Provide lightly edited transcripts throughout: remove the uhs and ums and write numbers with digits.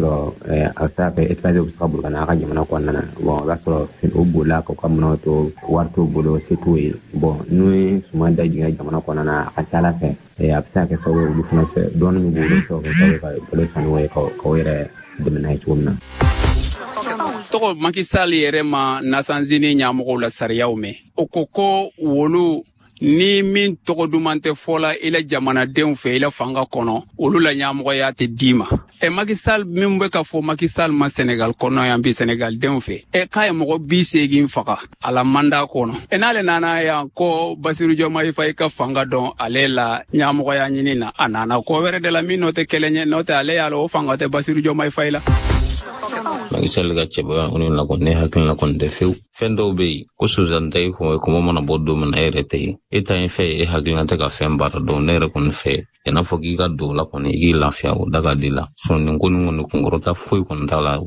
Sɔrɔ a bɛ se ka kɛ étranger bɛ se ka boli ka na a ka jamana kɔnɔna na. Bon, o b'a sɔrɔ o bolila k'u ka minɛnw to, wari t'u bolo, se t'u ye. Bon, n'u ye suman dajiginna jamana kɔnɔna na, a ka ca ala fɛ, a bɛ se ka kɛ sababu ye, olu fana fɛ, dɔɔnin min b'u bolo, bɛ se ka kɛ sababu ye ka balo san n'o ye, k'o yɛrɛ dɛmɛ n'a ye cogo min na. Tɔgɔ Macky Sall yɛrɛ ma Nations Unies ɲɛmɔgɔw la sariyaw mɛn. O ko ko wolu ni min tɔgɔ duman tɛ fɔla i la jamanadenw fɛ, i la fanga kɔnɔ, olu la ɲɛmɔgɔya tɛ d'i ma. Macky Sall min bɛ ka fɔ Macky Sall ma Senegal kɔnɔ yan bi, Senegal denw fɛ, k'a ye mɔgɔ 80 faga a la mandat kɔnɔ. N'ale nana yan ko Bassirou Diomaye Faye ka fanga dɔn ale la ɲɛmɔgɔya ɲini na, a nana ko wɛrɛ de la min n'o tɛ kelen ye, n'o tɛ ale y'a lɔn o fanga tɛ Bassirou Diomaye Faye la. Macky Sall ka cɛbaya o la kɔni, ne hakili la kɔni tɛ fewu. Fɛn dɔw bɛ yen ko Suzanne tɛ i kun, kɔmɔ mana bɔ don min na, e yɛrɛ tɛ yen, e ta ye fɛn ye, e hakilina tɛ ka fɛn baara dɔn. Ne yɛrɛ kɔni fɛ, i n'a fɔ k'i ka don o la kɔni, i k'i lafiya, o da ka di la. Sɔn nin ko nin kɔni kunkɔrɔta foyi kɔni t'a la.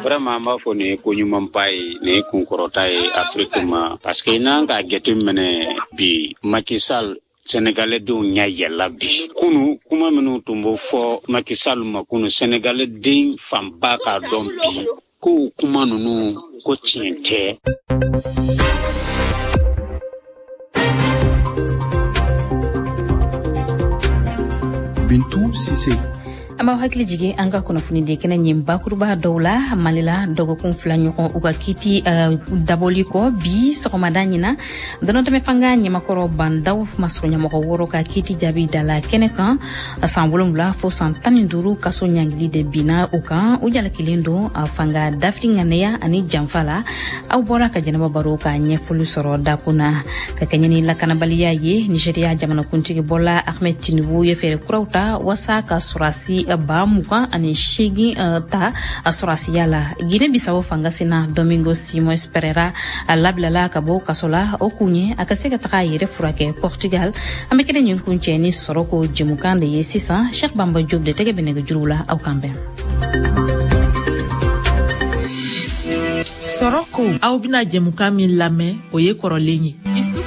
Vraiment, an b'a fɔ nin ye ko ɲumanba ye, nin ye kunkɔrɔta ye Afiriki ma, parce que n'an k'a jateminɛ bi, Macky Sall, Sénégalais denw ɲɛ yɛlɛla bi. Kunu kuma minnu tun bɛ fɔ Macky Sall ma kunu, Sénégalais den fanba k'a dɔn bi ko kuma ninnu ko tiɲɛ tɛ. Bintu Sise. An b'aw hakili jigin an ka kunnafonidi kɛnɛ ɲin bakuruba dɔw la. Mali la, dɔgɔkun 2 ɲɔgɔn u ka kiti dabɔli kɔ, bi sɔgɔmada ɲina dɔnɔtɛmɛ fanga ɲɛmakɔrɔ bandaw masuruɲɛmɔgɔ 6 ka kiti jaabi dala kɛnɛ kan. San 7 fo san 15 kaso ɲangili de binna u kan. U jalakilen don fanga dafiri ŋaniya ani janfa la. Aw bɔra ka jɛnɛba baro ka ɲɛfɔli sɔrɔ dakun na. Ka kɛɲɛ ni lakanabaliya ye, Nigeria jamanakuntigi bɔla Ahmed Tinubu ye fɛɛrɛ kuraw ta wasa ka sɔrɔsi 28,000 ta a sɔrɔsiya la. Guinée Bissau fanga sina Domingo Simões Pereira a labilala ka bɔ kaso la, o kun ye a ka se ka taga a yɛrɛ furakɛ Portugal. An bɛ kɛnɛ nin kun cɛ ni sɔrɔ ko jɛmukan de ye sisan. Cheikh Bamba Diop de tɛgɛ bɛ nɛgɛjuru la, aw kan bɛn. Sɔrɔ ko aw bɛna jɛmukan min lamɛn, o ye kɔrɔlen ye. Isu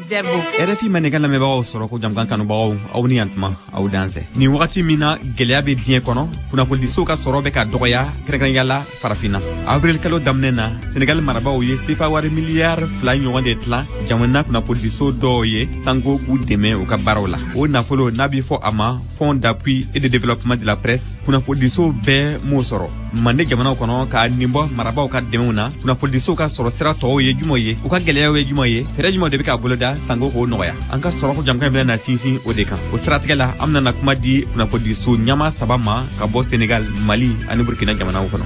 Zerbo. RFI Mandenkan lamɛnbagaw, sɔrɔ ko jamukan kanubagaw, aw ni yan tuma, aw dansɛ. Nin wagati min na gɛlɛya bɛ diɲɛ kɔnɔ, kunnafonidisow ka sɔrɔ bɛ ka dɔgɔya, kɛrɛnkɛrɛnya la farafinna. Avril kalo daminɛ na, Senegal marabaaw ye sefa wari miliyari 2 ɲɔgɔn de tilan jamana kunnafonidiso dɔw ye sanko k'u dɛmɛ u ka baaraw la. O nafolo n'a bɛ fɔ a ma Fonds d'appui et de développement de la presse, kunnafonidisow bɛɛ m'o sɔrɔ. Mande jamanaw kɔnɔ, ka nin bɔ marabaaw ka dɛmɛw na, kunnafonidisow ka sɔrɔ sira tɔw ye jumɛn ye, u ka gɛlɛyaw ye jumɛn ye, fɛɛrɛ jumɛn de bɛ ka boloda sanko k'o nɔgɔya? An ka sɔrɔ ko jamukan bɛna na sinsin o de kan. O siratigɛ la, an bɛna na kuma di kunnafonidiso ɲɛmaa 3 ma ka bɔ Senegal, Mali ani Burkina jamanaw kɔnɔ.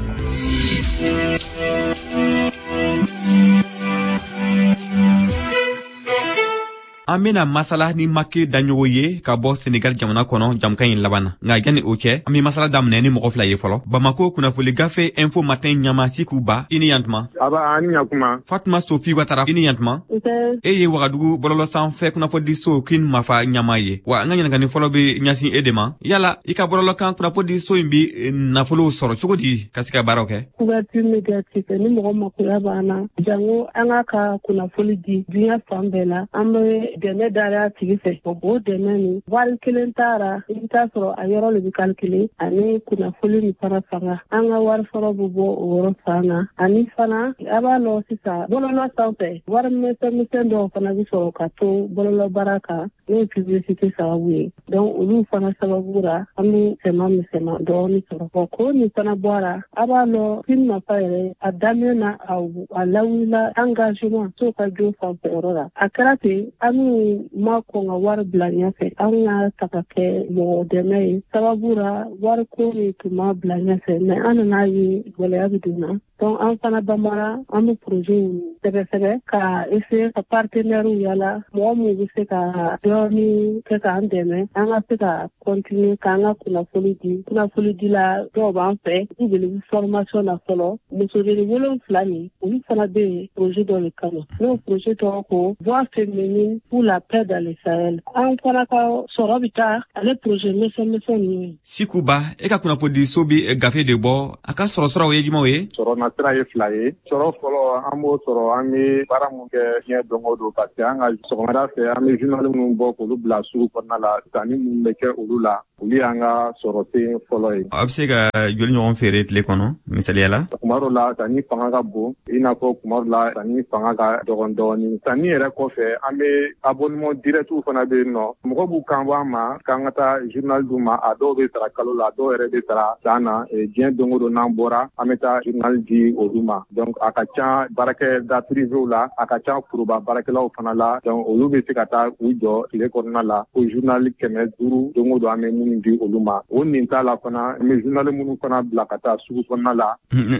An bena masala ni Make Daɲogo ye ka bɔ Senegal jamana kɔnɔ jamukan in laban na. Nka yanni o cɛ, an be masala daminɛ ni mɔgɔ 2 ye fɔlɔ. Bamako kunnafoli gafe Info Matin ɲama Siku Ba, i ni yantuma. Aba, ani ɲakuma. Fatuma Sofi Watara, i ni yantuma. Nse. E ye Wagadugu bɔlɔlɔ sanfɛ kunnafonidiso Queen Mafa ɲama ye. Wa an ka ɲininkali fɔlɔ be ɲɛsin e de ma. Yala i ka bɔlɔlɔ kan kunnafonidiso in bi nafolow sɔrɔ cogo di ka se ka baaraw kɛ? Couverture médiatique, ni mɔgɔ makoya b'an na, jango an ka kunnafoli di diɲɛ fan bɛɛ la, an bɛ dɛmɛ dara a tigi fɛ. O dɛmɛ nin wari kelen taara, i bɛ taa sɔrɔ a yɔrɔ de bɛ calculer ani kunnafoli nin fana fanga. An ka wari sɔrɔ bɛ bɔ o yɔrɔ fan na. Ani fana a b'a lɔn sisan bɔlɔlɔ sanfɛ, wari misɛn misɛn dɔw fana bɛ sɔrɔ ka to bɔlɔlɔ baara kan, n'o ye publicité sababu ye. Donc olu fana sababu la, an bɛ sɛma misɛnman dɔɔni sɔrɔ. Bon, ko nin fana bɔra, a b'a lɔn Queen Mafa yɛrɛ a daminɛ na, a lawulila engagement so ka jo fanfɛ yɔrɔ la. A kɛra ten, an n'u ma kɔn ka wari bila ɲɛfɛ, an ka ta ka kɛ mɔgɔ dɛmɛ ye. Sababu la wari ko nin tun ma bila ɲɛfɛ, mais an nana ye gɛlɛya bɛ don na. Donc an fana banbara, an bɛ projet sɛbɛ-sɛbɛ ka essayer ka partenaires yala, mɔgɔ minnu bɛ se ka dɔɔni kɛ k'an dɛmɛ, an ka se ka continuer k'an ka kunnafoni di. Kunnafoni dila dɔw b'an fɛ, u bɛ formation na fɔlɔ. Musodennin 7 nin, olu fana bɛ yen projet dɔ de kama. N'o projet tɔgɔ ko Voix féminine pour la paix dans le Sahel. An fana ka sɔrɔ bɛ taa ale projet misɛn misɛn ninnu ye. Siku Ba, e ka kunnafonidiso bɛ gafe de bɔ, a ka sɔrɔ siraw ye jumɛnw ye? Sɔrɔ na sira ye fila ye. Sɔrɔ fɔlɔ, an b'o sɔrɔ an bɛ baara mun kɛ diɲɛ don o don, parce que an ka sɔgɔmada fɛ, an bɛ journal minnu bɔ k'olu bila sugu kɔnɔna la, sanni minnu bɛ kɛ olu la, olu y'an ka sɔrɔ sen fɔlɔ ye. A bɛ se ka joli ɲɔgɔn feere tile kɔnɔ, misaliya la? Kuma dɔ la, sanni fanga ka bon, i n'a fɔ kuma dɔ la, sanni fanga ka dɔgɔn dɔɔni. Sanni yɛrɛ kɔfɛ, an bɛ abonnement direct fana bɛ yen nɔ. Mɔgɔ b'u kan bɔ an ma k'an ka taa journal d'u ma. A dɔw bɛ sara kalo la, a dɔw yɛrɛ bɛ sara san na. Diɲɛ don o don n'an bɔra, an bɛ taa journal di olu ma. Donc a ka ca baarakɛda privéw la, a ka ca foroba baarakɛlaw fana la. Donc olu bɛ se ka taa u jɔ tile kɔnɔna la ko journal 500 don o don, an bɛ minnu di olu ma. O nin t'a la fana, an bɛ journal minnu fana bila ka taa sugu kɔnɔna la.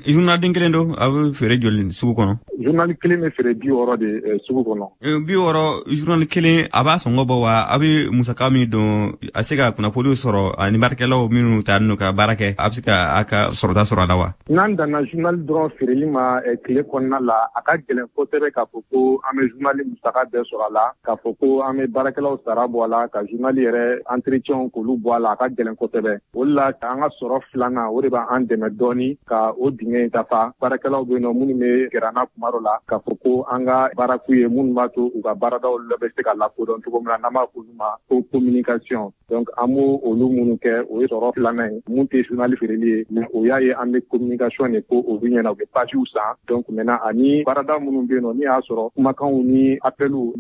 Journal den kelen don, a bɛ feere joli sugu kɔnɔ? Journal kelen bɛ feere 60 de sugu kɔnɔ. 60 journal kelen, a b'a sɔngɔ bɔ wa? A bɛ musaka min don a se ka kunnafoniw sɔrɔ ani baarakɛlaw minnu ta n'u ka baara kɛ, a bɛ se ka a ka sɔrɔta sɔrɔ a la wa? N'an danna journal dɔrɔn feereli ma tile kɔnɔna la, a ka gɛlɛn kosɛbɛ k'a fɔ ko an bɛ journal musaka bɛɛ sɔrɔ a la, k'a fɔ ko an bɛ baarakɛlaw sara bɔ a la, ka journal yɛrɛ entretien k'olu bɔ a la, a ka gɛlɛn kosɛbɛ. O de la, an ka sɔrɔ filanan, o de b'an dɛmɛ dɔɔni ka o dingɛ in dafa. Baarakɛlaw bɛ yen nɔ minnu bɛ gɛrɛ an na kuma dɔ la k'a fɔ ko an ka baara k'u ye, minnu b'a to u ka baaradaw la bɛ se ka lakodɔn cogo min na, n'an b'a fɔ olu ma ko communication. Donc an b'o olu minnu kɛ, o ye sɔrɔ filanan ye mun tɛ journal feereli ye, mais o y'a ye an bɛ communication de ko olu ɲɛna, u bɛ pagew san. Donc maintenant, ani baarada minnu bɛ yen nɔ, n'i y'a sɔrɔ kumakanw ni appels,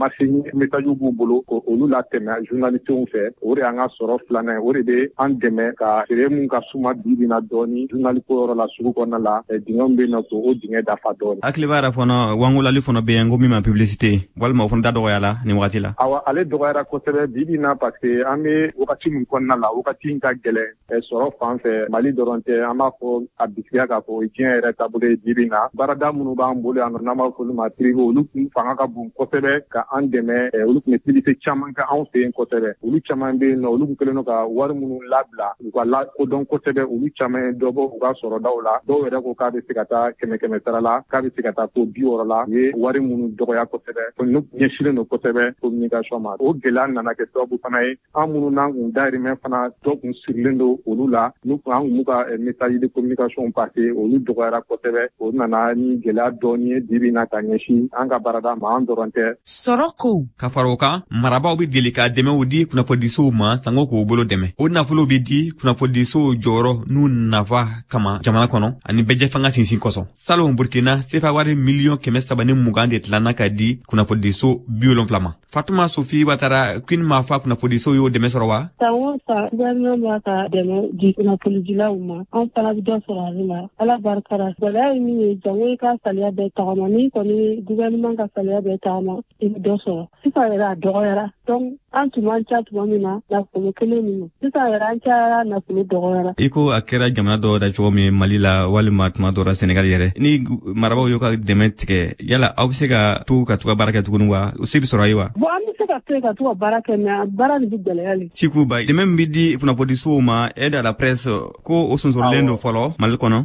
message b'u bolo, ko olu latɛmɛ journalistew fɛ, o de y'an ka sɔrɔ filanan ye. O de bɛ an dɛmɛ ka feere mun ka suma bi bi na dɔɔni journal ko yɔrɔ la sugu kɔnɔna la, dingɛ min bɛ yen nɔ, k'o dingɛ dafa dɔɔni. Hakili b'a la fana, wangolali fana bɛ yen ko min ma publicité, walima o fana da dɔgɔyala nin wagati la? Awa, ale dɔgɔyara kosɛbɛ bi bi na, parce que an bɛ wagati min kɔnɔna la, wagati in ka gɛlɛn sɔrɔ fan fɛ. Mali dɔrɔn tɛ, an b'a fɔ a bisigiya k'a fɔ diɲɛ yɛrɛ taabolo ye bi bi na. Baarada minnu b'an bolo yan nɔ, n'an b'a fɔ olu ma privé, olu kun fanga ka bon kosɛbɛ ka an dɛmɛ. Olu tun bɛ publicité caman kɛ anw fɛ yen kosɛbɛ. Olu caman bɛ yen nɔ, olu kun kɛlen don ka wari minnu labila u ka lakodɔn kosɛbɛ, olu caman ye dɔ bɔ u ka sɔrɔdaw la. Dɔw yɛrɛ ko k'a bɛ se ka taa kɛmɛ kɛmɛ sara la, k'a bɛ se ka taa fo 60 la. U ye wari minnu dɔgɔya kosɛbɛ, n'u ɲɛsinnen don kosɛbɛ communication ma. O gɛlɛya nana kɛ sababu fana ye, an minnu n'an kun dahirimɛ fana dɔ kun sirilen don olu la, n'u kun an kun b'u ka message de communication passer, olu dɔgɔyara kosɛbɛ. O nana ni gɛlɛya dɔɔni ye bi bi na ka ɲɛsin an ka baarada ma, an dɔrɔn tɛ. Sɔrɔ ko Ka fara o kan, marabaaw bɛ deli ka dɛmɛw di kunnafonidisow ma sango k'u bolo dɛmɛ. O nafolow bɛ di kunnafonidisow jɔyɔrɔ n'u nafa kama jamana kɔnɔ ani bɛɛjɛfanga sinsin kosɔn. Salon, Burkina, sefa wari miliyɔn 320 de tilanna ka di kunnafonidiso 70 ma. Fatuma Sofi Watara, Queen Mafa kunnafonidiso y'o dɛmɛ sɔrɔ wa? San o san, gouvernement b'a ka dɛmɛ di kunnafonidilaw ma, an fana bɛ dɔ sɔrɔ ale la, Ala barika la. Gɛlɛya ye min ye, jango i ka saliya bɛɛ tagama. N'i kɔni gouvernement ka saliya bɛɛ tagama, i bɛ dɔ sɔrɔ. Sisan yɛrɛ a dɔgɔyara. Donc an tun man ca tuma min na, nafolo kelen min, sisan yɛrɛ an cayara, nafolo dɔgɔyara. I ko a kɛra jamana dɔw da cogo min, Mali la walima tuma dɔ la Senegal yɛrɛ, ni marabaaw y'u ka dɛmɛ tigɛ, yala aw bɛ se ka to ka to ka baara kɛ tuguni wa? O se bɛ sɔrɔ ye wa? Bon, an bɛ se ka to yen ka to ka baara kɛ, mais baara nin bɛ gɛlɛya le. Siku Ba, dɛmɛ min bɛ di kunnafonidisow ma, aide à la presse, ko o sonsorolen don fɔlɔ Mali kɔnɔ,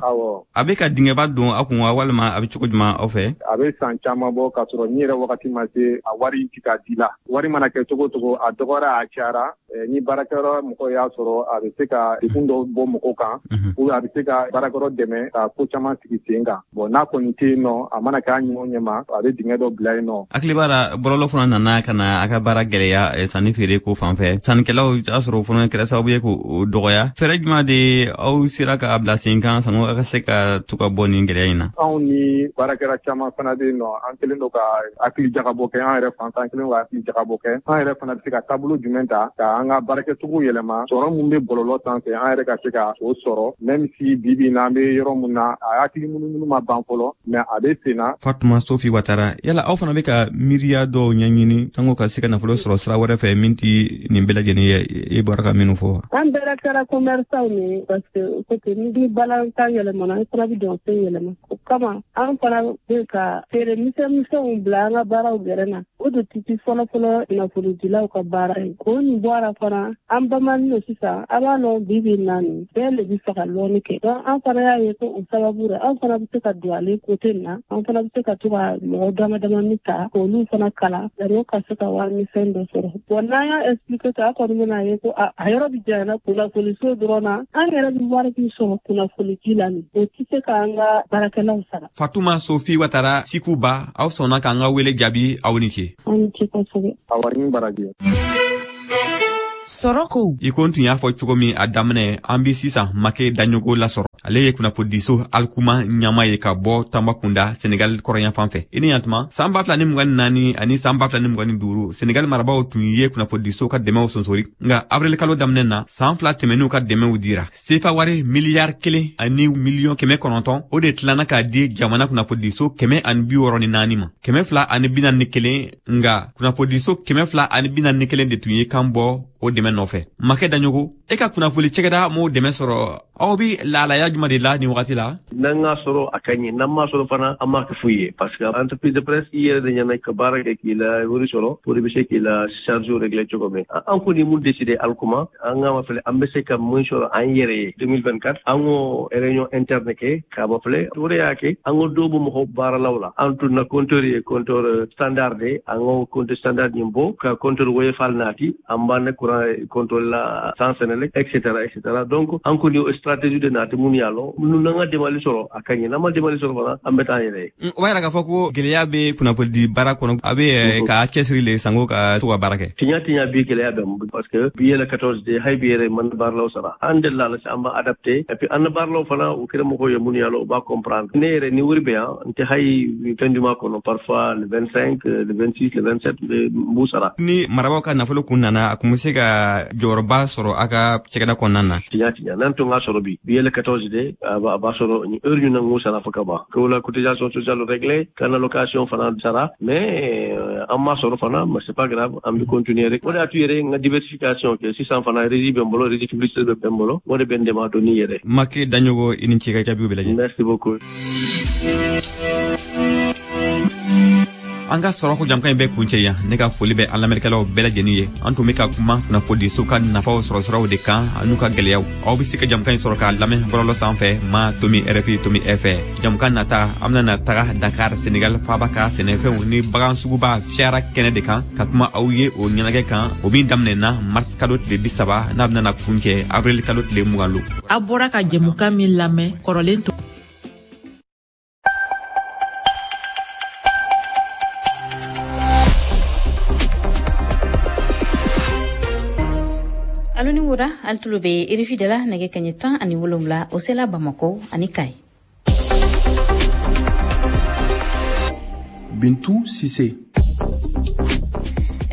a bɛ ka dingɛba don aw kun wa, walima a bɛ cogo jumɛn aw fɛ? A bɛ san caman bɔ k'a sɔrɔ ni yɛrɛ wagati ma se, a wari ti ka di la. Wari mana kɛ cogo cogo, a dɔgɔyara, a cayara, ni baarakɛyɔrɔ mɔgɔ y'a sɔrɔ, a bɛ se ka degun dɔw bɔ mɔgɔw kan, ou a bɛ se ka baarakɛyɔrɔ dɛmɛ ka ko caman sigi sen kan. Bon, n'a kɔni tɛ yen nɔ, a mana kɛ a ɲɛ o ɲɛ ma, a bɛ dingɛ dɔ bila yen nɔ. Hakili b'a la, bɔlɔlɔ fana nana ka na a ka baara gɛlɛya sanni feere ko fan fɛ. Sannikɛlaw y'a sɔrɔ o fana kɛra sababu ye k'o dɔgɔya. Fɛɛrɛ jumɛn de aw sera k'a bila sen kan sango a ka se ka to ka bɔ nin gɛlɛya in na? Anw ni baarakɛla caman fana bɛ yen nɔ, an kɛlen don ka hakili jagabɔ kɛ an yɛrɛ fan fɛ. An kɛlen don ka hakili jagabɔ kɛ, an yɛrɛ fana bɛ se ka taabolo jumɛn ta ka an ka baarakɛcogo yɛlɛma, sɔrɔ mun bɛ bɔlɔlɔ sanfɛ, an yɛrɛ ka se ka o sɔrɔ, même si bi bi in na an bɛ yɔrɔ mun na, a hakili munumunu ma ban fɔlɔ, mais a bɛ sen na. Fatuma Sofi Watara, yala aw fana bɛ ka miiriya dɔw ɲɛɲini sango ka se ka nafolo sɔrɔ sira wɛrɛ fɛ min ti nin bɛɛ lajɛlen ye, i bɔra ka minnu fɔ? An bɛɛ kɛra commerçant ye, parce que côté ni balantan yɛlɛmana, an fana bɛ dɔn fɛn yɛlɛma. O kama an fana bɛ ka feere misɛn misɛnw bila an ka baaraw gɛrɛ na. O de tɛ fɔlɔ fɔlɔ nafolodilaw ka baara ye. K'o nin bɔ a la fana, an bamanin don sisan, a b'a lɔn bi bi na nin bɛɛ le bɛ fɛ ka lɔnni kɛ. Donc an fana y'a ye ko o sababu la, an fana bɛ se ka don ale côté nin na, an fana bɛ se ka to ka mɔgɔ dama damani ta k'olu fana kalan yanni ka se ka warimisɛn dɔ sɔrɔ. Bon, n'an y'a expliquer ten, a kɔni bɛna ye ko a yɔrɔ bɛ janyana kunnafoniso dɔrɔn na. An yɛrɛ bɛ wari min sɔrɔ kunnafonidi la nin, o tɛ se k'an ka baarakɛlaw sara. Fatuma Sofi Watara Sikuba, aw sɔnna k'an ka wele jaabi, aw ni ce. Aw ni ce kosɛbɛ. Awa, ni baraji. Sɔrɔko. I ko n tun y'a fɔ cogo min a daminɛ, an bi sisan Make Daɲogo lasɔrɔ. Ale ye kunnafonidiso Alikuma ɲama ye ka bɔ Tanbakunda, Senegal kɔrɔnyanfan fɛ. I ni yantuma. San 2024 ani san 2025, Senegal marabaw tun ye kunnafonidiso ka dɛmɛw sonsori, nka avril kalo daminɛ na, san 2 tɛmɛnenw ka dɛmɛw dira. Sefa wari miliyari 1 ani miliyɔn 900, o de tilanna k'a di jamana kunnafonidiso 164 ma, 241. Nka kunnafonidiso 241 de tun ye kan bɔ o dɛmɛ nɔfɛ. Makɛ Daɲogo, e ka kunnafoni cɛgɛda m'o dɛmɛ sɔrɔ, aw bi lahalaya juma de la nin wagati la? N'an k'a sɔrɔ, a ka ɲi. N'an m'a sɔrɔ fana, an m'a kɛ foyi ye, parce que entreprise de presse, i yɛrɛ de ɲɛna ka baara kɛ k'i la wari sɔrɔ pour i bɛ se k'i la charge régler cogo min. An kɔni mun décidé Alikuma, an k'a ma filɛ an bɛ se ka mun sɔrɔ an yɛrɛ ye 2024. An ko réunion interne kɛ k'a ma filɛ, o de y'a kɛ an ko dɔw bɛ mɔgɔw baaralaw la. An tun na compteur ye compteur standard de, an ko compteur standard ɲin bɔ ka compteur woyofal naati, an b'an ne courant compteur la sans Senelec, et cetera, et cetera. Donc an kɔni o stratégie de naati mun y'a lɔ nu, n'an ka demali sɔrɔ, a ka ɲi. N'an ma demali sɔrɔ fana, an bɛ taa an yɛrɛ ye. O b'a yira k'a fɔ ko gɛlɛya bɛ kunnafonidi baara kɔnɔ, a bɛ ka cɛsiri le sanko ka to ka baara kɛ. Tiɲɛ tiɲɛ, bi gɛlɛya bɛ, parce que bi yɛlɛ 14 de, hali bi yɛrɛ man baaralaw sara. An delila la, an b'a adapté, et puis an na baaralaw fana, u kɛra mɔgɔw ye mun y'a lɔ, u b'a comprendre. Ne yɛrɛ ni wari bɛ yan, n tɛ hali fin du mois kɔnɔ, parfois le 25, le 26, le 27, n b'u sara. Ni marabaaw ka nafolo kun nana, a kun bɛ se ka jɔyɔrɔba sɔrɔ a ka cɛgɛda kɔnɔna na. Tiɲɛ tiɲɛ, n'an tun k'a sɔrɔ bi, bi yɛlɛ 14 de, a b'a sɔrɔ ni heure ɲuman ŋ'u sara fo ka ban ko la cotisation sociale réglée, ka na location fana sara. Mais an m'a sɔrɔ fana, mais c'est pas grave, an bɛ continuer rek. O de y'a to yɛrɛ n ka diversification kɛ. Sisan fana régie bɛ n bolo, régie publicité bɛ n bolo, o de bɛ n dɛmɛ a donni yɛrɛ. Make Daɲogo, i ni ce ka jaabiw bɛɛ lajɛlen. Merci beaucoup. An ka sɔrɔ ko jamukan in bɛ kuncɛ yan. Ne ka foli bɛ an lamɛnnikɛlaw bɛɛ lajɛlen ye. An tun bɛ ka kuma kunnafonidiso ka nafaw sɔrɔ siraw de kan an'u ka gwɛlɛyaw. Aw bɛ se ka jamukan in sɔrɔ k'a lamɛn bɔlɔlɔ sanfɛ ma.rfi.fr. Jamukan nata, an bɛna taga Dakar, Senegal faaba ka sɛnɛfɛnw ni bagan suguba fiyara kɛnɛ de kan, ka kuma aw ye o ɲɛnajɛ kan, o min daminɛna mars kalo tile 30, n'a bɛna kuncɛ avril kalo tile 20 lo. A bɔra ka jɛmukan min lamɛn, kɔrɔlen to. Alo ni wura, ali tulo be RFI de la. Nɛgɛ kaɲɛ 17, o sela Bamako ani Kayi. Bintu Sise.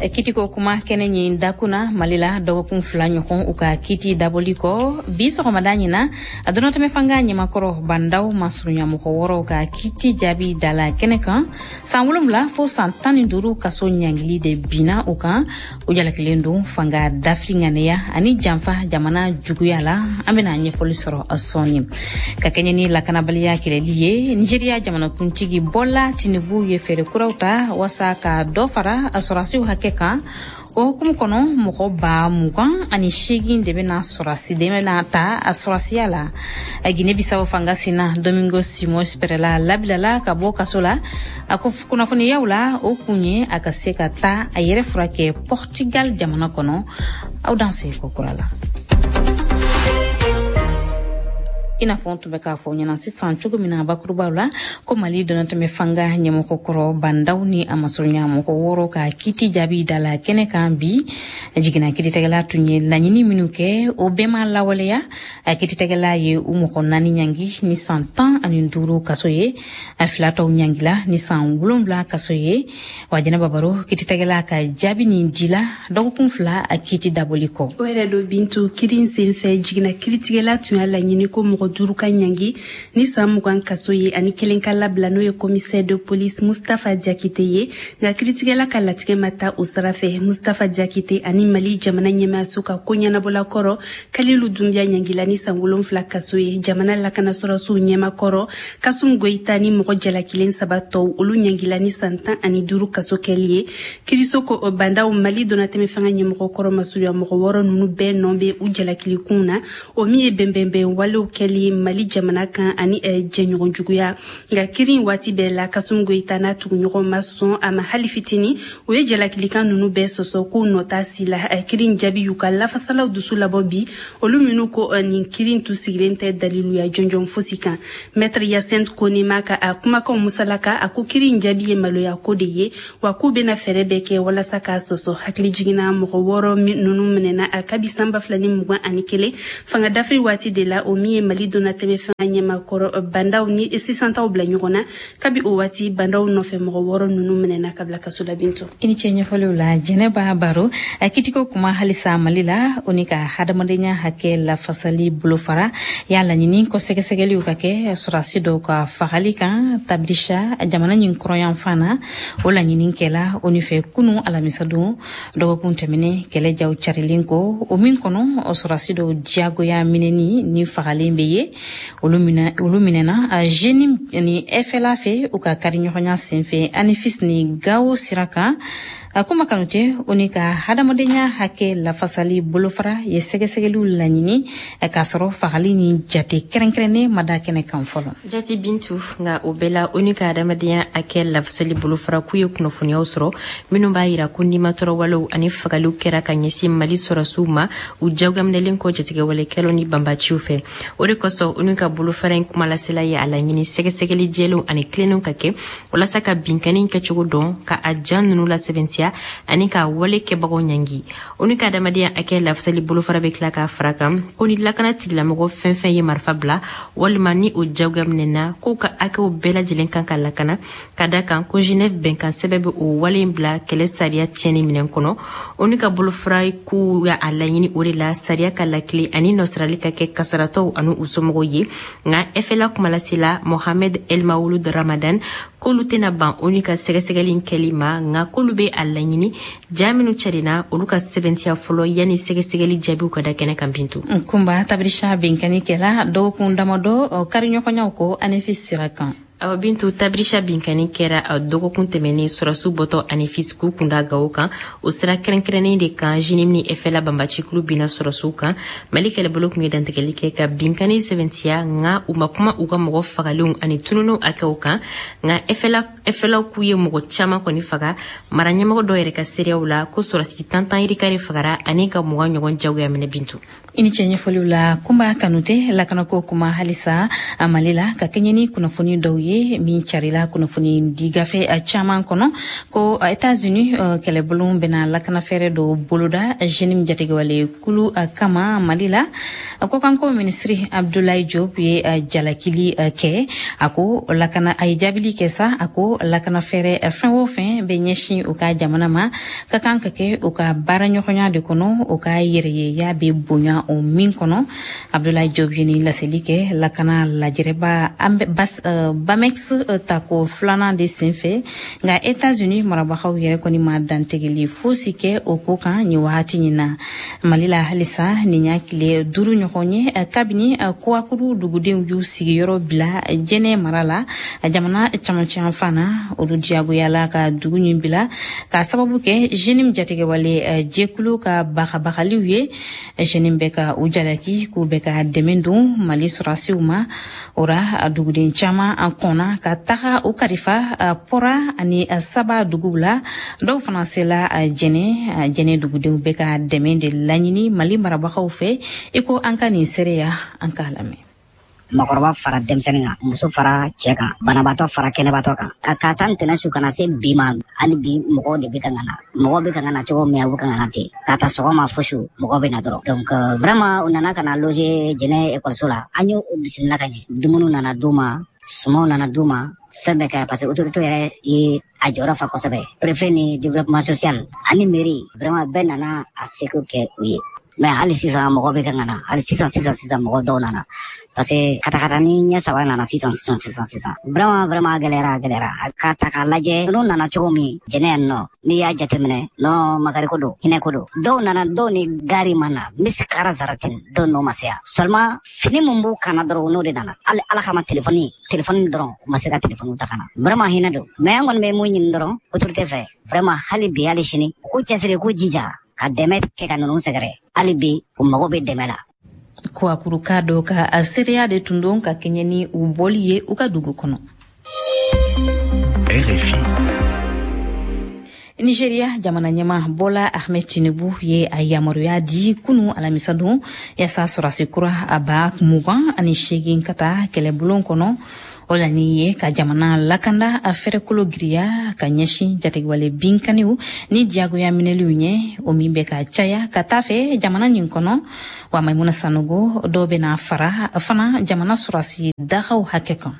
Kitiko kuma kɛnɛ ɲin dakuna. Mali la, dɔgɔkun 2 ɲɔgɔn u ka kiti dabɔli kɔ, bi sɔgɔmada ɲina, a dɔnɔtɛmɛ fanga ɲɛmakɔrɔ Bandaw masurunya mɔgɔ wɔɔrɔw ka kiti jaabi dala kɛnɛ kan. San 7 fo san 15 kaso ɲangili de binna u kan. U jalakilen don fanga dafiri ŋaniya ani janfa jamana juguya la. An bena ɲɛfɔli sɔrɔ sɔɔni. Ka kɛɲɛ ni lakanabaliya kɛlɛli ye, Nigeriya jamanakuntigi Bɔla Tinubu ye fɛɛrɛ kuraw ta wasa ka dɔ fara a sɔrɔdasiw hakɛ kan. O hukumu kɔnɔ, mɔgɔ 28,000 de bɛna sɔrɔsi de bɛna ta a sɔrɔsiya la. Guinée Bissau fanga sina Domingo Simões Pereira labilala ka bɔ kaso la. A ko kunnafoniyaw la, o kun ye a ka se ka taa a yɛrɛ furakɛ Portugal jamana kɔnɔ. Aw danse ko kura la. I n'a fɔ n tun bɛ k'a fɔ ɲɛna sisan cogo min na bakurubaw la, ko Mali dɔnatɛmɛ fanga ɲɛmɔgɔ kɔrɔ Bandaw ni a masurunya mɔgɔ wɔɔrɔ ka kiti jaabi da la kɛnɛ kan bi. Jiginna kiiritigɛla tun ye laɲini minnu kɛ, o bɛɛ ma lawaleya. A kiiritigɛla ye u mɔgɔ naani ɲangi ni san 15 kaso ye, a fila tɔw ɲangila ni san 7 kaso ye. Wa Jɛnɛba Baro, kiiritigɛla ka jaabi nin dila dɔgɔkun 2 a kiti dabɔli kɔ. O yɛrɛ do Bintu, kiri in senfɛ, jiginna kiiritigɛla tun y'a laɲini ko mɔgɔ 5 ka ɲangi ni san 20 kaso ye, ani kelen ka labila, n'o ye commissaire de police Mustafa Jakite ye. Nka kiiritigɛla ka latigɛ ma taa o sira fɛ. Mustafa Jakite ani Mali jamana ɲɛmaayaso ka ko ɲɛnabɔla kɔrɔ Kalilu Dunbiya ɲangila ni san 7 kaso ye. Jamana lakanasɔrɔsiw ɲɛmakɔrɔ Kasum Goyita ni mɔgɔ jalakilen 3 tɔw, olu ɲangila ni san 15 kaso kɛli ye. Kiriso ko Bandaw, Mali donnatɛmɛ fanga ɲɛmɔgɔ kɔrɔ masurunya mɔgɔ wɔɔrɔ ninnu bɛɛ nɔ bɛ u jalakilikun na, o min ye bɛnbɛnbɛn walew kɛli. binni Mali jamana kan ani jɛɲɔgɔn juguya. Nka kiri waati bɛɛ la, Kasum Goyita n'a tuguɲɔgɔn ma sɔn a ma hali fitini. U ye jalakilikan ninnu bɛɛ sɔsɔ k'u nɔ t'a si la. Kiri jaabi y'u ka lafasalaw dusu labɔ bi, olu minnu ko nin kiri tun sigilen tɛ daliluya jɔnjɔn fosi kan. Maître Yacinthe Kone ma ka a kumakanw musalaka, a ko kiri jaabi ye maloya ko de ye, wa k'u bɛna fɛɛrɛ bɛɛ kɛ walasa k'a sɔsɔ. Hakili jiginna mɔgɔ 6 ninnu minɛna kabi san 2021 fanga dafiri waati de la, o min ye Mali donnatɛmɛ fanga ɲɛmakɔrɔ Bandaw ni sisantaw bila ɲɔgɔn na. Kabi o waati, Bandaw nɔfɛ mɔgɔ 6 ninnu minɛna ka bila kaso la. Bintu, i ni ce ɲɛfɔliw la. Jɛnɛba Baro, kitiko kuma halisa Mali la, o ni ka hadamadenya hakɛ lafasali bolofara y'a laɲini ko sɛgɛsɛgɛliw ka kɛ sɔrɔdasi dɔw ka fagali kan Tabirisha, jamana ɲin kɔrɔyanfan na. O laɲini kɛla o fɛ kunu alamisadon, dɔgɔkun tɛmɛnen, kɛlɛ jaw carilen ko, o min kɔnɔ sɔrɔdasi dɔw diyagoya minɛni ni fagalen bɛ ye. Olu minɛna JNIM ni FLA fɛ u ka kariɲɔgɔnya senfɛ Anefis ni Gawo sira kan. Kuma Kanute, o ni ka hadamadenya hakɛ lafasali bolofara ye sɛgɛsɛgɛliw laɲini k'a sɔrɔ fagali ni jate kɛrɛnkɛrɛnnen ma da kɛnɛ kan fɔlɔ. Jati Bintu, nka o bɛɛ la, ONU ka adamadenya hakɛ lafasali bolofara k'u ye kunnafoniyaw sɔrɔ minnu b'a yira ko nimatɔrɔwalew ani fagaliw kɛra ka ɲɛsin Mali sɔrɔsiw ma, u jagoyaminɛlen kɔ jatigɛwalekɛlaw ni banbaciw fɛ. O de kosɔn, ONU ka bolofara in kumalasela ye a laɲini sɛgɛsɛgɛli jɛlenw ani tilennenw ka kɛ walasa ka binkanni kɛcogo dɔn, ka a jan ninnu lasɛbɛntiya ani ka wale kɛbagaw ɲangi. ONU ka adamadenya hakɛ lafasali bolofara bɛ tila k'a fara kan ko ni lakana tigilamɔgɔ fɛn fɛn ye marifa bila walima ni o jagoya minɛna, k'u ka hakɛw bɛɛ lajɛlen kan ka lakana, ka da kan ko Genève bɛnkan sɛbɛn bɛ o wale in bila kɛlɛ sariya tiɲɛni minɛn kɔnɔ. ONU ka bolofara k'u y'a laɲini o de la, sariya ka lakile ani nɔsarali ka kɛ kasaratɔw ani u somɔgɔw ye. Nka FLA kumalasela Mohamed Elmawulud Ramadan k'olu tɛna ban ONU ka sɛgɛsɛgɛli kɛli ma, nka k'olu bɛ a laɲini ja minnu carinna, olu ka sɛbɛntiya fɔlɔ yanni sɛgɛsɛgɛli jaabiw ka da kɛnɛ kan. Bintu. Kunba, Tabirisha binkani kɛla dɔgɔkun damadɔ kariɲɔgɔnyaw ko Anefis sira kan. Awa Bintu, Tabirisha binkani kɛra dɔgɔkun tɛmɛnen, sɔrɔsiw bɔtɔ Anefis k'u kunda Gawo kan. O sira kɛrɛnkɛrɛnnen de kan, JNIM ni FLA banbacikulu binna sɔrɔsiw kan. Mali kɛlɛbolo tun ye dantigɛli kɛ ka binkani sɛbɛntiya, nka u ma kuma u ka mɔgɔ fagalenw ani tununenw hakɛw kan. Nka FLA k'u ye mɔgɔ caman kɔni faga. Mara ɲɛmɔgɔ dɔw yɛrɛ ka seereyaw la, ko sɔrɔsi 10 yirika de fagara ani ka 20 ɲɔgɔn jagoya minɛ. Bintu. I ni cɛ ɲɛfɔliw la. Kunba Kanute, lakanako kuma halisa Mali la, ka kɛɲɛ ni kunnafoni dɔw ye min carila kunnafoni di gafe caman kɔnɔ, ko Etats-Unis kɛlɛbolo bɛna lakanafɛɛrɛ dɔw boloda JNIM jatigɛwale kulu kama Mali la. Kɔkanko minisiri Abdoulaye Diop ye jalakili kɛ. A ko lakana, a ye jaabili kɛ sa, a ko lakanafɛɛrɛ fɛn o fɛn bɛ ɲɛsin u ka jamana ma, ka kan ka kɛ u ka baaraɲɔgɔnya de kɔnɔ, u ka yɛrɛyeya bɛ bonya o min kɔnɔ. Abdoulaye Diop ye nin laseli kɛ lakana lajɛrɛba Bamex tako filanan de senfɛ. Nka Etats-Unis marabagaw yɛrɛ kɔni ma dantigɛli fosi kɛ o ko kan nin wagati nin na. Mali la halisa, nin y'a tile 5 ɲɔgɔn ye kabini Kouakourou dugudenw y'u sigiyɔrɔ bila Jɛnɛ mara la, jamana camancɛ fan na. Olu diyagoyala ka dugu ɲin bila k'a sababu kɛ JNIM jatigɛwale jɛkulu ka bagabagaliw ye. JNIM bɛ ka u jalaki k'u bɛ ka dɛmɛ don Mali sɔrɔdasiw ma. O ra, duguden caman an kɔnna ka taga u kalifa Pɔra ani Saba duguw la. Dɔw fana sela Jɛnɛ. Jɛnɛ dugudenw bɛ ka dɛmɛ de laɲini Mali marabagaw fɛ. I ko an ka nin seereya, an k'a lamɛn. Makɔrɔba fara denmisɛnnin kan, muso fara cɛ kan, banabaatɔ fara kɛnɛbaatɔ kan. Ka taa ntɛnɛn su kana se bi ma, hali bi mɔgɔw de bɛ ka na. Mɔgɔw bɛ ka na cogo min, u bɛ ka na ten. Ka taa sɔgɔma fo su, mɔgɔw bɛ na dɔrɔn. Donc vraiment, u nana ka na loger Jɛnɛ ekɔliso la. An y'u bisimila ka ɲɛ. Dumuni nana d'u ma, sumanw nana d'u ma, fɛn bɛɛ kɛra, parce que autorité yɛrɛ ye a jɔyɔrɔ fa kosɛbɛ. Préfet ni développement social ani mairie, vraiment bɛɛ nana a seko kɛ u ye. Mais hali sisan mɔgɔ bɛ ka na, hali sisan sisan sisan mɔgɔ dɔw nana, parce que katakata ni ɲɛ saba nana sisan sisan sisan sisan. Vraiment vraiment, a gɛlɛyara, a gɛlɛyara. Ka ta k'a lajɛ, ninnu nana cogo min Jɛnɛ yan nɔ, n'i y'a jateminɛ non, makari ko don, hinɛ ko don. Dɔw nana, dɔw ni gari ma na, misi kara zaratin, dɔw n'o ma se yan. Seulement fini mun b'u kana dɔrɔn, n'o de nana. Hali ala kama, telefɔni telefɔni dɔrɔn, u ma se ka telefɔni ta ka na. Vraiment hinɛ don. Mais an kɔni bɛ mun ɲini dɔrɔn autorité fɛ, vraiment hali bi, hali sini, u k'u cɛsiri, k'u jija ka dɛmɛ kɛ ka ninnu sɛgɛrɛ. Hali bi u mago bɛ dɛmɛ la. Kouakuruka dɔ ka a seereya de tun don ka kɛɲɛ ni u bɔli ye u ka dugu kɔnɔ. RFI. Nigeria jamana ɲɛmaa Bola Ahmed Tinubu ye a yamaruya di kunu alamisadon yaasa sɔrasi kura a 28,000 ka taa kɛlɛbulon kɔnɔ. O laɲini ye ka jamana lakanda a fɛrɛkolo giriya ka ɲɛsin jatigɛwale binkaniw ni diyagoya minɛliw ɲɛ, o min bɛ ka caya ka taa fɛ jamana nin kɔnɔ. Wa Maimuna Sanogo, dɔw bɛna fara fana jamana sɔrasi dagaw hakɛ kan.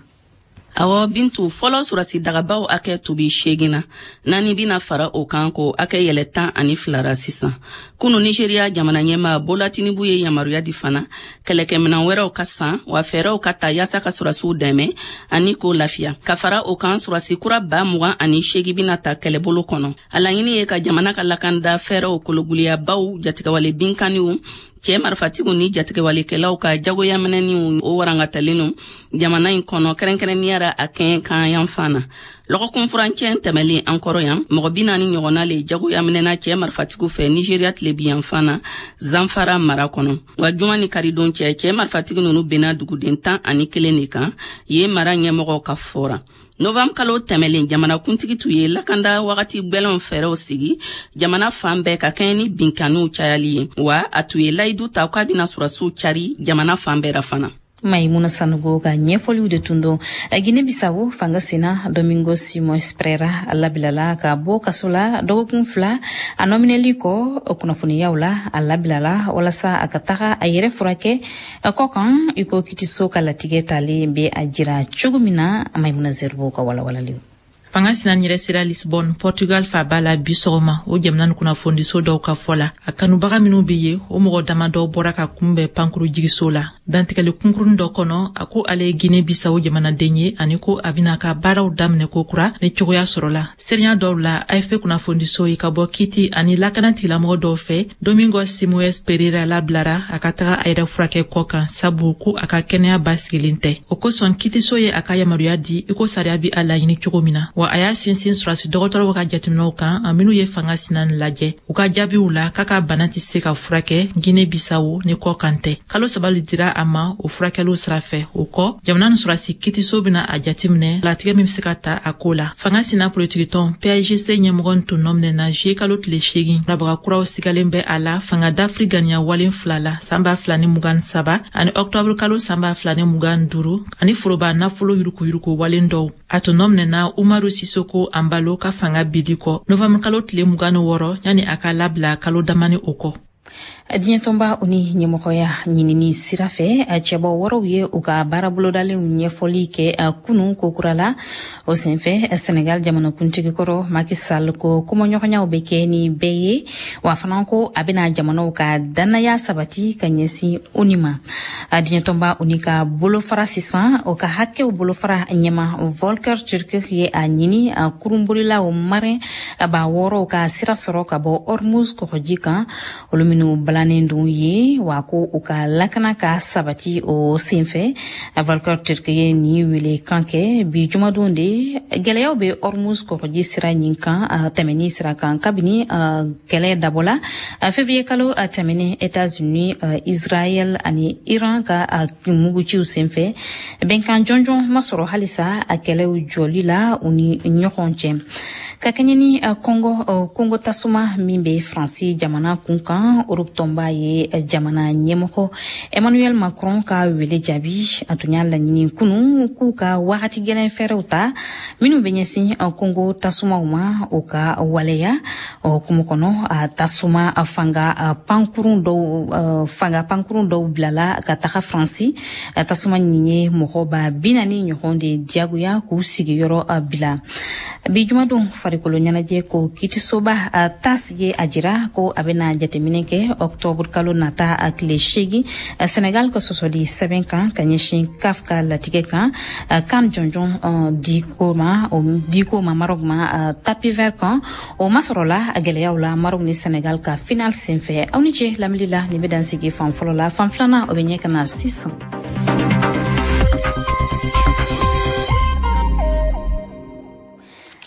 Awɔ Bintu, fɔlɔ surasi dagabaw hakɛ tun bi 8 na, 4 bina fara o kan k'o hakɛ yɛlɛ 12 ra sisan. Kunu Nigeria jamana ɲɛmaa Bola Tinubu ye yamaruya di fana kɛlɛkɛminan wɛrɛw ka san, wa fɛɛrɛw ka ta yaasa ka surasiw dɛmɛ ani k'o lafiya. Ka fara o kan, surasi kura 28,000 bina ta kɛlɛbolo kɔnɔ. A laɲini ye ka jamana ka lakanda fɛɛrɛw kologuliyabaw, jatigɛwale binkaniw, cɛɛ marifatigiw ni jatigɛwalekɛlaw ka jagoyaminɛniw o warangatalen jamana in kɔnɔ, kɛrɛnkɛrɛnniya ra a kɛɲɛ kan yanfan na. Lɔgɔkun furancɛ tɛmɛlen an kɔrɔ yan, mɔgɔ 40 ɲɔgɔnna le jagoyaminɛna cɛɛ marifatigiw fɛ Nigeria tilebi yanfan na, Zamfara mara kɔnɔ. Wa juma ni karidon cɛ, cɛɛ marifatigi nunu benna duguden 11 de kan yen, mara ɲɛmɔgɔw ka fɔra. Novembre kalo tɛmɛlen, jamanakuntigi tun ye lakanda wagati gwɛlɛnw fɛɛrɛw sigi jamana fan bɛɛ ka kɛɲɛ ni binkaniw cayali ye, wa a tun ye layidu ta k'a bɛna surasiw cari jamana fan bɛɛ ra fana. Maimuna Sanogo ka ɲɛfɔliw de tun don. Guinée Bissau fanga sina Domingo Simões Pereira labilala ka bɔ kaso la dɔgɔkun 2 a nɔminɛli kɔ. Kunnafoniyaw la, a labilala walasa a ka taga a yɛrɛ furakɛ kɔ kan, i ko kitiso ka latigɛ talen bɛ a jira cogo min na. Maimuna Zerbo ka walawalaliw. Fanga sina yɛrɛ sera Lisbonne, Portugal faba la bi sɔgɔma. O jamana ni kunnafonidiso dɔw ka fɔ la, a kanubaga minw be ye, o mɔgɔ dama dɔw bɔra ka kunbɛn pankuru jigiso la. Dantigɛli kunkuruni dɔ kɔnɔ, a ko ale ye Guinée Bissau jamanaden ye ani ko a bɛna ka baaraw daminɛ ko kura ni cogoya sɔrɔla. Seriya dɔw la AFP kunnafonidiso ye ka bɔ kiti ani lakana tigilamɔgɔ dɔw fɛ, Domingos Simoes Pereira labilara a ka taga a yɛrɛ furakɛ kɔ kan, sabu ko a ka kɛnɛya basigilen tɛ. O kosɔn kitiso ye a ka yamaruya di i ko sariya bi a laɲini cogo min na. Wa a y'a sinsin surasi dɔgɔtɔrɔw ka jateminɛw kan minnu ye fanga sina lajɛ. U ka jaabiw la, k'a ka bana tɛ se ka furakɛ Guinée Bissau ni kɔ kan tɛ. Kalo 3 le dira a ma o furakɛliw sira fɛ. O kɔ, jamana ni surasi kitiso bɛna a jateminɛ latigɛ min bɛ se ka ta a ko la. Fanga sina politikitɔn PAIGC ɲɛmɔgɔ tun nɔminɛna juillet kalo tile 8. Marabaga kuraw sigalen bɛ a la fanga dafiri ganiya walen 2 la san 2023 ani octobre kalo san 2025, ani foroba nafolo yurukuyuruku walen dɔw. A tun nɔminɛna Umaru Sisoko Ambalo ka fanga bidi kɔ novembre kalo tile 26, yani a ka labila kalo damani o kɔ. Diɲɛ tɔnba o ni ɲɛmɔgɔya ɲinini sira fɛ, cɛbɔ wɔɔrɔw ye u ka baara bolodalenw ɲɛfɔli kɛ kunu kokura la. O senfɛ, Senegal jamanakuntigi kɔrɔ Macky Sall ko kumaɲɔgɔnyaw bɛ kɛ ni bɛɛ ye, wa fana ko a bɛna jamanaw ka dannaya sabati ka ɲɛsin ONU ma. Diɲɛ tɔnba o ni ka bolofara sisan, o ka hakɛw bolofara ɲɛma Volker Turk ye a ɲini kurunbolilaw marin 6000 ka sira sɔrɔ ka bɔ Hormuz kɔgɔji kan, olu minnu balannen don ye, wa ko u ka lakana ka sabati. O senfɛ, Volker Turk ye nin wele kan kɛ bi jumadon de. Gɛlɛyaw bɛ Hormuz kɔgɔji sira ɲin kan tɛmɛni sira kan kabini kɛlɛ dabɔla février kalo tɛmɛnen États-Unis, Israël ani Iran ka muguciw senfɛ. Bɛnkan jɔnjɔn ma sɔrɔ halisa a kɛlɛw jɔli la u ni ɲɔgɔn cɛ. Ka kɛɲɛ ni Kongo tasuma min bɛ Faransi jamana kun kan, Europe tɔnba ye jamana ɲɛmɔgɔ Emmanuel Macron ka wele jaabi. A tun y'a laɲini kunu k'u ka wagati gɛlɛn fɛɛrɛw ta minnu bɛ ɲɛsin Kongo tasumaw ma, o ka waleya. O hukumu kɔnɔ, a tasuma fanga pankurun dɔw bilala ka taga Faransi. Tasuma nin ye mɔgɔ 40,000 ɲɔgɔn de diyagoya k'u sigiyɔrɔ bila. Bi jumadon, farikolo ɲɛnajɛ ko kitisoba TAS ye a jira ko a bɛna jateminɛ kɛ octobre kalo nata a tile 8 Senegal ka sɔsɔli sɛbɛn kan ka ɲɛsin CAF ka latigɛ kan kan jɔnjɔn di ko ma Maroc ma tapis vert kan. O masɔrɔla a gɛlɛyaw la Maroc ni Senegal ka final senfɛ. Aw ni ce lamɛnli la. Nin bɛ dan sigi fan fɔlɔ la. Fan filanan, o bɛ ɲɛ ka na sisan.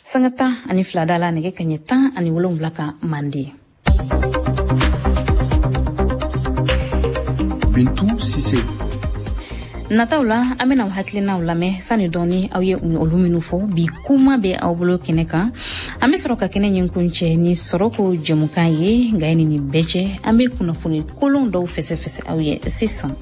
Sanga 12 da la nɛgɛ kaɲɛ 17 kan mande. Bintu Sise. Nataw la, an bena aw hakilinaw lamɛn. Sani dɔɔni, aw ye olu minnu fɔ bi, kuma bɛ aw bolo kɛnɛ kan. An be sɔrɔ ka kɛnɛ ɲin kuncɛ ni sɔrɔko jɛmukan ye. Nka ni nin bɛɛ cɛ, an be kunnafoni kolon dɔw fɛsɛfɛsɛ aw ye sisan.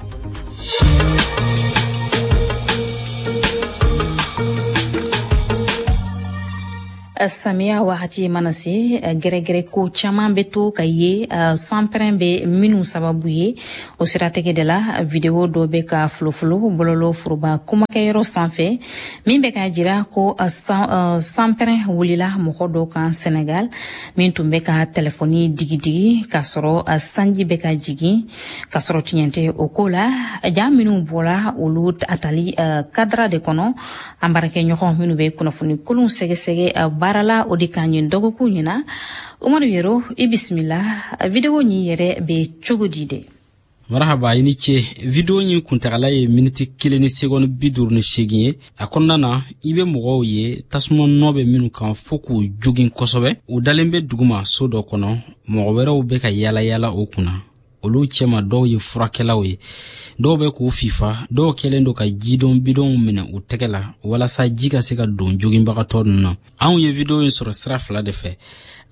Samiya wagati mana se, gɛrɛgɛrɛ ko caman bɛ to ka ye, sanpɛrɛn bɛ minnu sababu ye. O siratigɛ de la, video dɔ bɛ ka folofolo bɔlɔlɔ foroba kumakɛyɔrɔ sanfɛ, min bɛ k'a jira ko sanpɛrɛn wulila mɔgɔ dɔ kan Senegal, min tun bɛ ka telefɔni digidigi k'a sɔrɔ sanji bɛ ka jigin, k'a sɔrɔ tiɲɛ tɛ o ko la. Ja minnu bɔra, olu a tali kadara de kɔnɔ. An baarakɛɲɔgɔn minnu bɛ kunnafoni kolonw sɛgɛsɛgɛ baara la, o de kan ɲin dɔgɔkun ɲina. Umaru Yero, i bisimila. Video ɲin yɛrɛ bɛ cogo di de? Marahaba, i ni ce. Video ɲin kuntagala ye miniti 1 ni segɔni 58 ye. A kɔnɔna na, i bɛ mɔgɔw ye, tasuma nɔ bɛ minnu kan fɔɔ k'u jogin kosɛbɛ. U dalen bɛ duguma so dɔ kɔnɔ. Mɔgɔ wɛrɛw bɛ ka yala yala o kunna. Olu cɛma, dɔw ye furakɛlaw ye, dɔw bɛ k'u fifa, dɔw kɛlen don ka jidon bidɔnw minɛ u tɛgɛ la walasa ji ka se ka don joginbagatɔ ninnu na. Anw ye video in sɔrɔ sira fila de fɛ,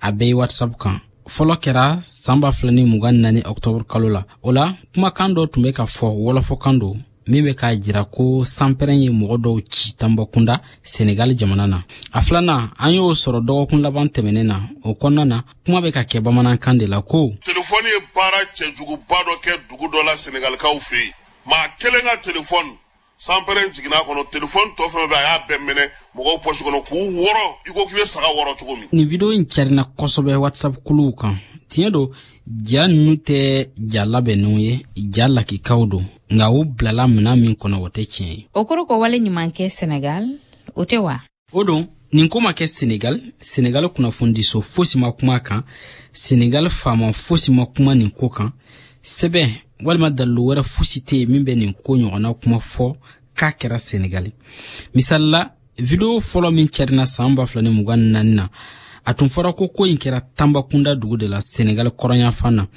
a bɛɛ ye WhatsApp kan. Fɔlɔ kɛra san 2024 ɔktɔburu kalo la. O la, kumakan dɔ tun bɛ ka fɔ, wɔlɔfɔkan don, min bɛ k'a jira ko sanpɛrɛn ye mɔgɔ dɔw ci Tanbakunda, Senegal jamana na. A filanan, an y'o sɔrɔ dɔgɔkun laban tɛmɛnen na. O kɔnɔna na, kuma bɛ ka kɛ bamanankan de la ko telefɔni ye baara cɛjuguba dɔ kɛ dugu dɔ la Senegalikaw fɛ yen. Maa kelen ka telefɔni, sanpɛrɛn jiginna a kɔnɔ. Telefɔni tɔ fɛn fɛn, a y'a bɛɛ minɛ mɔgɔw pɔsi kɔnɔ k'u wɔrɔ i ko k'i bɛ saga wɔrɔ cogo min. Nin video in carina kosɛbɛ WhatsApp kuluw kan. Tiɲɛ don, ja ninnu tɛ ja labɛnnenw ye, ja lakikaw don, nka u bilala minan min kɔnɔ, o tɛ tiɲɛ ye. O kɔrɔ ko wale ɲuman kɛ Senegal, o tɛ wa? O don, nin ko ma kɛ Senegal. Senegal kunnafonidiso fosi ma kuma a kan, Senegal faama fosi ma kuma nin ko kan. Sɛbɛn walima dalilu wɛrɛ fosi tɛ yen min bɛ nin ko ɲɔgɔnna kuma fɔ k'a kɛra Senegal. Misali la, video fɔlɔ min carina san 2024 na, a tun fɔra ko ko in kɛra Tanbakunda dugu de la, Senegal kɔrɔnyanfan na.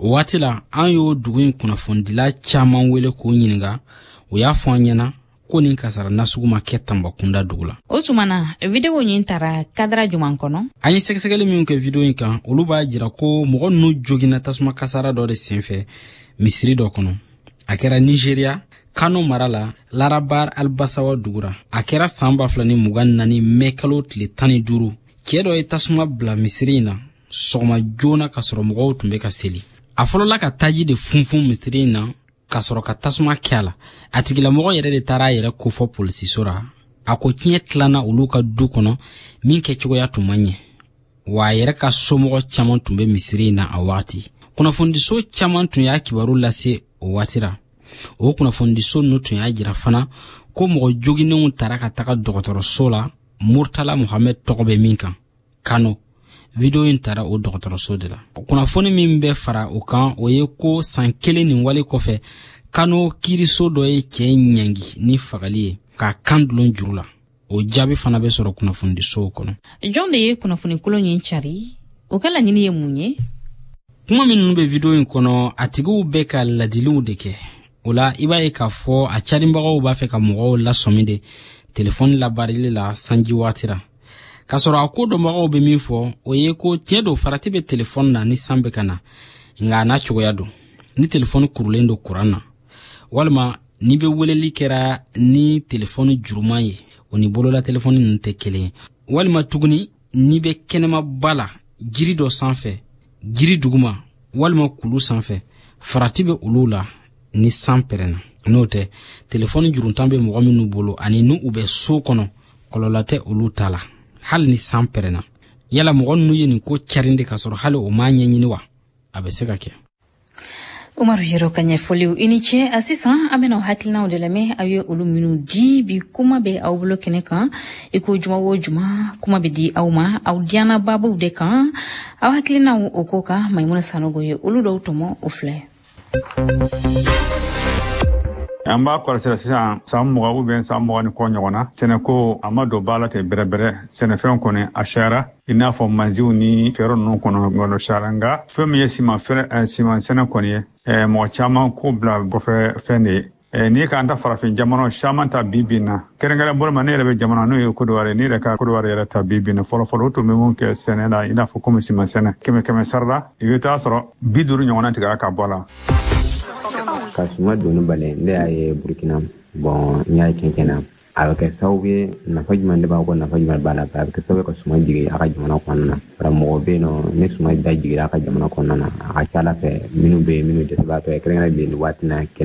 O waati la, an y'o dugu in kunnafonidila caman wele k'o ɲininka. O y'a fɔ an ɲɛna ko nin kasara nasugu ma kɛ Tanbakunda dugu la. O tuma na, video ɲin tara kadara juman kɔnɔ? An ye sɛgɛsɛgɛli minw kɛ video in kan, olu b'a jira ko mɔgɔ ninnu joginna tasuma kasara dɔ de senfɛ misiri dɔ kɔnɔ. A kɛra Nigeria, Kano mara la, Larabar Albasawa dugura. A kɛra san 2024 mɛ kalo tile 15. Cɛɛ dɔ ye tasuma bila misiri in na sɔgɔma joona, ka sɔrɔ mɔgɔw tun bɛ ka seli. A fɔlɔla ka taji de funfun misiri in na ka sɔrɔ ka tasuma kɛ a la. A tigilamɔgɔ yɛrɛ de taara a yɛrɛ kofɔ polisiso ra. A ko tiɲɛ tilanna olu ka du kɔnɔ min kɛcogoya tun man ɲɛ, wa a yɛrɛ ka somɔgɔ caman tun bɛ misiri in na a wagati. Kunnafonidiso caman tun y'a kibaru lase o waati ra. O kunnafonidiso ninnu tun y'a jira fana ko mɔgɔ joginnenw tara ka taga dɔgɔtɔrɔso la, Murtala Mohamed tɔgɔ bɛ min kan, Kano. Video in tara o dɔgɔtɔrɔso de la. Kunnafoni min bɛ fara o kan, o ye ko san kelen nin wale kɔfɛ, Kano kiiriso dɔ ye cɛ ɲangi ni fagali ye k'a kan dulon juru la. O jaabi fana bɛ sɔrɔ kunnafonidisow kɔnɔ. Jɔn de ye kunnafoni kolon ɲin cari? O ka laɲini ye mun ye? Kuma minnu bɛ video in kɔnɔ, a tigiw bɛ ka ladiliw de kɛ. O la, i b'a ye k'a fɔ a carinbagaw b'a fɛ ka mɔgɔw lasɔmi de telefɔni labaarili la sanji waati ra. K'a sɔrɔ a ko dɔnbagaw bɛ min fɔ, o ye ko tiɲɛ don, farati bɛ telefɔni na ni san bɛ ka na, nka a n'a cogoya don. Ni telefɔni kurulen don kuran na, walima n'i bɛ weleli kɛra ni telefɔni juruman ye, o ni bolola telefɔni ninnu tɛ kelen ye. Walima tuguni, n'i bɛ kɛnɛmaba la, jiri dɔ sanfɛ, jiri duguma walima kulu sanfɛ, farati bɛ olu la ni san pɛrɛnna. N'o tɛ, telefɔni juruntan bɛ mɔgɔ minnu bolo ani n'u bɛ so kɔnɔ, kɔlɔlɔ tɛ olu ta la hali ni san pɛrɛnna. Yala mɔgɔ ninnu ye nin ko carin de ka sɔrɔ hali o m'a ɲɛɲini wa? A bɛ se ka kɛ. Umaru Yero ka ɲɛfɔliw, i ni ce. A sisan, an bɛna hakilinaw de lamɛn, aw ye olu minnu di. Bi, kuma bɛ aw bolo kɛnɛ kan, i ko juma o juma, kuma bɛ di aw ma aw diyana babuw de kan. Aw hakilinaw o ko kan, Maimuna Sanogo ye olu dɔw tɔmɔ, o filɛ. An b'a kɔlɔsi sisan san 20 ou bien san 20 ni kɔ ɲɔgɔn na, sɛnɛko a ma don ba la ten bɛrɛbɛrɛ. Sɛnɛfɛnw kɔni a cayara, i n'a fɔ mansiw ni fɛɛrɛ ninnu kɔnɔ ŋɔnɔ cayara, nka fɛn min ye siman fɛrɛ, siman sɛnɛ kɔni ye, mɔgɔ caman ko bila kɔfɛ fɛn de ye. N'i k'an ta farafin jamanaw caman ta bi bi na, kɛrɛnkɛrɛn bolo ma, ne yɛrɛ bɛ jamana n'o ye Kodowari, ne yɛrɛ ka Kodowari yɛrɛ ta bi bi na, fɔlɔfɔlɔ o tun bɛ mun kɛ sɛnɛ la, i n'a fɔ komi siman sɛnɛ, 100 100 sara la, i bɛ taa sɔrɔ 50 ɲɔgɔnna tigɛra ka bɔ a la. Ka suma donni bali, ne y'a ye Burukina. Bon, n y'a ye cɛncɛn na, a bɛ kɛ sababu ye, nafa jumɛn de b'a kɔ, nafa jumɛn b'a la? A bɛ kɛ sababu ye ka suma jigin a ka jamana kɔnɔna na. Bara mɔgɔ bɛ yen nɔ, ni suma da jigira a ka jamana kɔnɔna na, a ka ca ala fɛ, minnu bɛ yen, minnu dɛsɛbaatɔ ye, kɛrɛnkɛrɛn bi nin waati na.